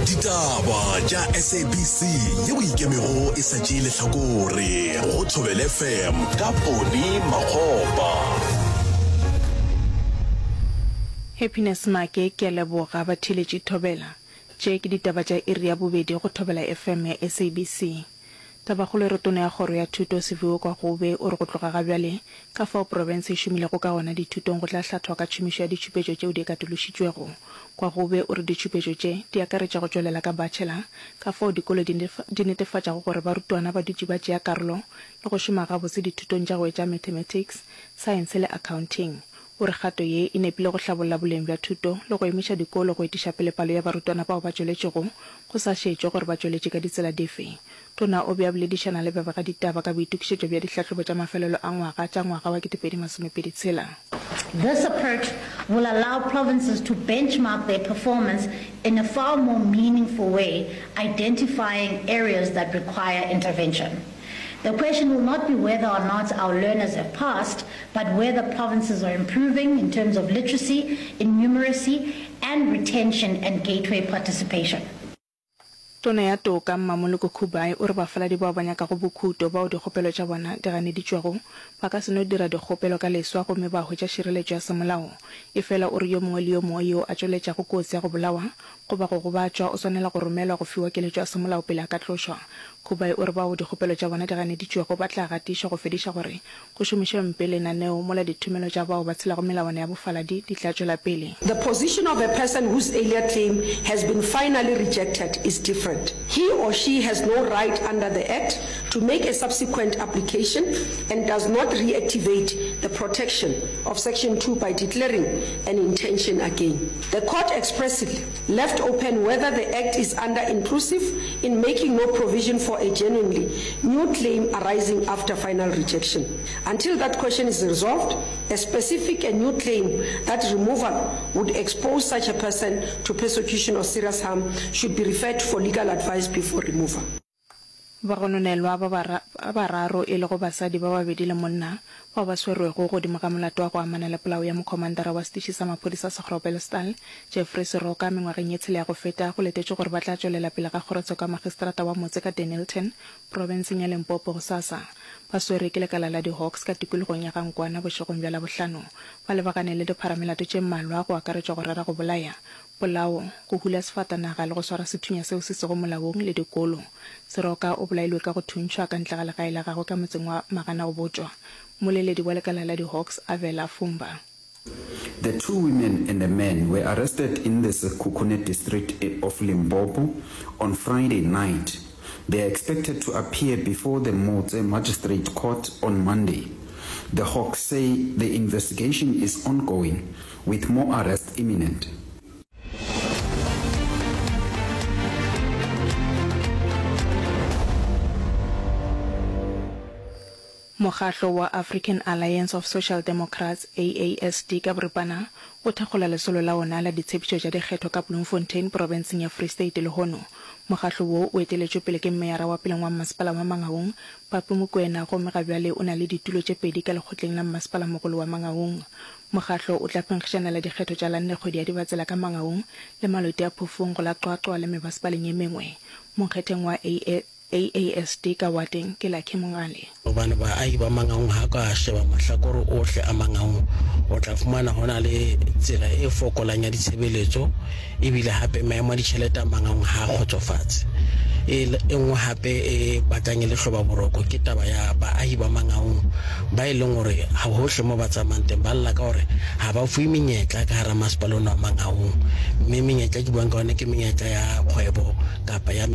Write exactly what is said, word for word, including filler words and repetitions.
Ditaba tša S A B C yeo ikemego e sa tšee lehlakore go Thobela F M ka Poni Makgopa. Happiness Make ke a leboga batheeletši Thobela. Tše ke ditaba tša iri ya bobedi go Thobela F M ya S A B C. Tabakgolo e re Tona ya Kgoro ya Thuto Siviwe Gwarube o re go tloga ga bjale ka fao profense e šomilego ka gona dithutong go tla hlathwa ka tšhomišo ya ditšhupetšo tšeo di katološitšwego. Gwarube o re ditšhupetšo tše di akaretša go tšwelela ka bachelor ka fao dikolo di netefatšago gore barutwana ba dutše ba tšea karolo le go šoma gabotse dithutong tša go etša mathematics, saense le accounting. O re kgato ye e nepile go hlabolla boleng bja thuto le go emiša dikolo go etiša pele palo ya barutwana bao ba tšweletšego go sa šetšwe gore ba tšweletše ka ditsela dife. Tona o be a boledišana le babegaditaba ka boitokišetšo bja dihlahlobo tša mafelelo a ngwaga tša ngwaga wa ketepedi masomepedi tshela. This approach will allow provinces to benchmark their performance in a far more meaningful way, identifying areas that require intervention. The question will not be whether or not our learners have passed, but whether provinces are improving in terms of literacy, in numeracy, and retention and gateway participation. Tona ya Toka, Mmamoloko Kubayi o re bafaladi bao ba nyakago bokhuto bao dikgopelo tša bona di ganeditšwego ba ka se no dira dikgopelo ka leswa gomme ba hwetša šireletšo ya semolao. Efela o re yo mongwe le yo mongwe yo a tšweletšago kotsi ya go bolawa goba go gobatšwa o swanela go romelwa go fiwa keletšo ya semolao pele a ka tlošwa. Kubayi o re bao dikgopelo tša bona di ganeditšwego ba tla gatišwa go fediša gore go šomišwe mpe lenaneo mola dithomelo tša bao ba tshelago melawana ya bofaladi di tla tšwela pele. The position of a person whose earlier claim has been finally rejected is different. He or she has no right under the Act to make a subsequent application and does not reactivate the protection of section two by declaring an intention again. The court expressly left open whether the Act is under-inclusive in making no provision for a genuinely new claim arising after final rejection. Until that question is resolved, a specific and new claim that removal would expose such a person to persecution or serious harm should be referred for legal advice before removal. Bagononelwa ba bararo e lego basadi ba babedi le monna bao ba swerwego godimo ga molato wa go amana le polao ya mokhomandara wa setiši sa maphodisa sa Groblersdal, Jeffrey Seroka mengwageng ye tshela ya go feta go letetšwe gore ba tla tšwelela pele ga kgorotsheko ya magistrata wa motse ka Dennilton, profenseng ya Limpopo gosasa. Ba swerwe ke lekala la di-Hawks ka tikologong ya Ga-Nkwana bošegong bja Labohlano. Ba lebagane le dipharamelato tše mmalwa go akaretšwa go rera go bolaya, polao, go hula sefatanaga le go swara sethunya seo se sego molaong le dikolo. Seroka o bolailwe ka go thuntšhwa ka ntle ga legae la gagwe ka motseng wa Maganagobotšwa. Mmoleledi wa lekala la di-Hawks, Avela Fumba. The two women and a man were arrested in the Sekhukhune district of Limpopo on Friday night. They are expected to appear before the Motse Magistrate Court on Monday. The Hawks say the investigation is ongoing, with more arrests imminent. Mokgatlo wa African Alliance of Social Democrats, A A S D ka boripana, o thakgola lesolo la ona la ditshepišo tša dikgetho ka Bloemfontein profenseng ya Free State lehono. Mokgatlo wo o eteletšwe pele ke meyara wa peleng wa mmasepala wa Mangaung, Papi Mokoena, gomme ga bjale o na le ditulo tše pedi ka lekgotleng la mmasepalamogolo wa Mangaung. Mokgatlo o tla phenkgišanela dikgetho tša la nne kgwedi ya Dibatsela ka Mangaung le Maloti a Phofung go la Qwaqwa le mebasepaleng ye mengwe. Monkgetheng wa A A S D ka wateng ke Lucky Mongale. Gobane baahi ba Mangaung ha ka sheba mahlakore ohle a Mangaung o tla fumana ho na le tsela e fokolang ya ditshebeletso ebile hape maemo a ditjhelete a Mangaung ha a kgotsofatse. E nngwe hape e batlang e le hloba boroko ke taba ya baahi ba Mangaung ba e leng hore ha hohle mo ba tsamayang teng ba lla ka hore ha ba fuwe menyetla ka hara masepala ona wa Mangaung, mme menyetla e ke buang ka yona ke menyetla ya kgwebo kapa ya